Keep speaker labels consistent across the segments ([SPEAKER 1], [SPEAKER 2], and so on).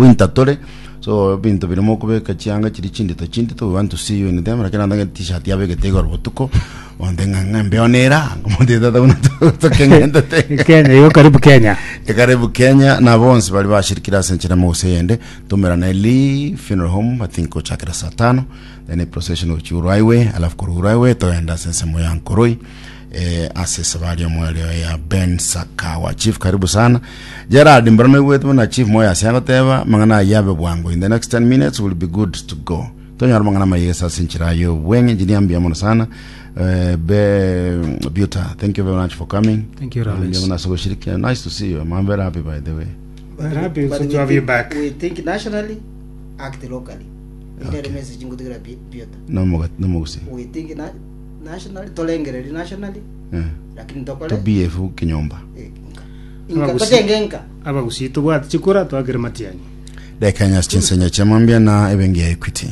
[SPEAKER 1] Winter tore so ebinto biria mokobeka chianga chiria chindito chindito we want to see you in them lakini nandage t-shirt yabegete igoro botuko onde ng'a ng'a embeo nera ngomonto tata buna tokeng'entete
[SPEAKER 2] Kenya igo karibu Kenya.
[SPEAKER 1] Karibu Kenya na bonsi bari bashirikire ase enchera mogose eyende tomerane Lee Funeral Home I think gochakera saa tano then a procession gochia Uru Highway alafu korwa Uru Highway togenda ase ensemo ya Nkoroi eh, ase esabari omoerio ya Ben Sakawa chief karibu sana Gerard mbara noigwete buna chief moyo ase agoteba mang'ana ayio abe bwango in the next 10 minutes will be good to go tonyora mang'ana amayesa ase enchera ya obweng'e engineer mbuya mono sana eh, be Buta thank you very much for coming
[SPEAKER 2] Thank you, Rollins.
[SPEAKER 1] Mbuya mono ase goshirikia nice to see you I'm very happy by the way
[SPEAKER 2] We're happy
[SPEAKER 3] But
[SPEAKER 2] also
[SPEAKER 3] we
[SPEAKER 2] to have you
[SPEAKER 3] think-
[SPEAKER 2] back.
[SPEAKER 3] We think nationally, act locally. Okay. message ngotigera biota.
[SPEAKER 1] Nomoga- nomogusi
[SPEAKER 3] We think na, nationally, tolengereri nationally,
[SPEAKER 1] Eh,
[SPEAKER 3] lakini tokore
[SPEAKER 1] to bf kinyomba
[SPEAKER 3] eh, nka. Inka
[SPEAKER 2] Abagusi.
[SPEAKER 3] tochenge nka.
[SPEAKER 2] Abagusii tobwate chikura twakere matiang'i.
[SPEAKER 1] Dakika nyasi chinsenya chiamambia na ebenki ya Equity.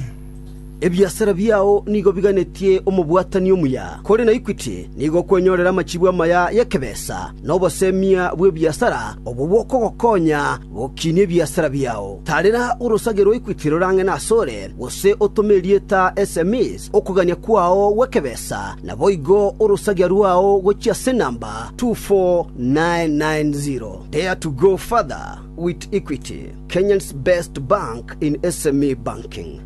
[SPEAKER 4] Ebiasara biao nigo biganetie omobwatani omuya. Kore na Equity nigo okwenyorera amachibu amaya y'ekebesa na obosemia bw'ebiasara obwo bokogokonya gokinia ebiasara biao. Tarera orosage rwa Equity rore ang'e nasore, gose otome erieta SMEs okogania kwao gw'ekebesa, naboigo orosagia rwao gochia ase enamba 24990. Dare to go further with Equity, Kenya's best bank in SME banking.